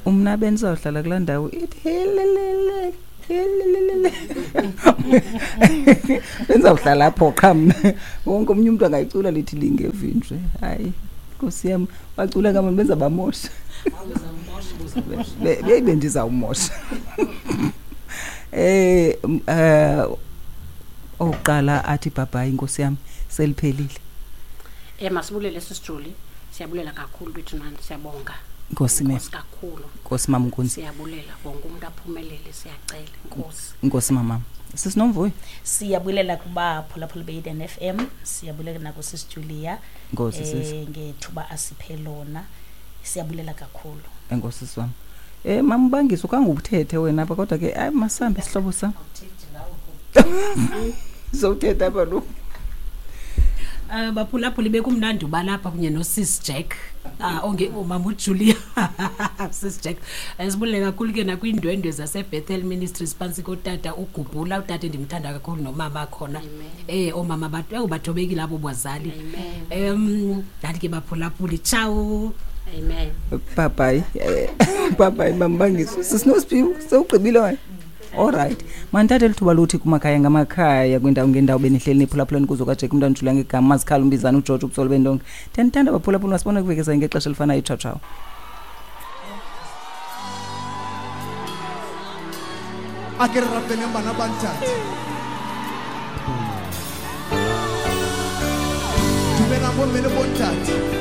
Umna bendizawuhlala kulaa ndawo ithi helelele helelele, bendizawuhlala apho qha mna. Wonke omnye umntu angayicula lithi lingevi nje. Hayi, nkosi yam, bacula kamani, benza bamosha. Beyi bendizawumosha. Oqala athi bhabhayi, nkosi yam, seliphelile. Masibulele sisijuli, siyabulela kakhulu bethu nani, siyabonga. Nkosi ma'am. Nkosi kakhulu. Nkosi mama Nkunzi. Siyabulela wonke umuntu aphumelele, siyacela Nkosi. Nkosi mama. Sisinomvuyo. Siyabulela kubaphulaphuli be-Eden FM, siyabulela nakusisi Julia. Nkosi sisi. Ngethuba asiphe lona. Siyabulela kakhulu. Enkosi sisi wam. Mama Ubangisa ukangubuthethe wena apha, kodwa ke hayi masambe sihlobo sam. Sowuthetha apha lo. Baphulaphuli bekumnandi uba lapha kunye noSis Jack. Onge umama uJulia. Sis Jack. Sibulele kakhulu ke nakwiindwendwe zaseBethel Ministries phantsi kotata uGubhula, utata endimthanda kakhulu nomama khona. Oomama bathobekile abo bazali. Ndathi ke baphulaphuli, ciao. Amen. Bye bye. Bye bye mama Bangisa. Sisinosiphiwo, sewugqibile wena. All right. Mandithathe lithuba lothi kumakhaya ngamakhaya kwindawo ngendawo benihleli niphulaphuleni kuzo kaJack umntwana uJulia ngegama Mazikhala umbizana uGeorge ubutsolo bendonke. Ndiyanithanda baphulaphuli, masibone kuvekeza ngexesha elifanayo. Ciao ciao. A ke re rapeleng bana ba ntate. Dumelang bomme le bontate.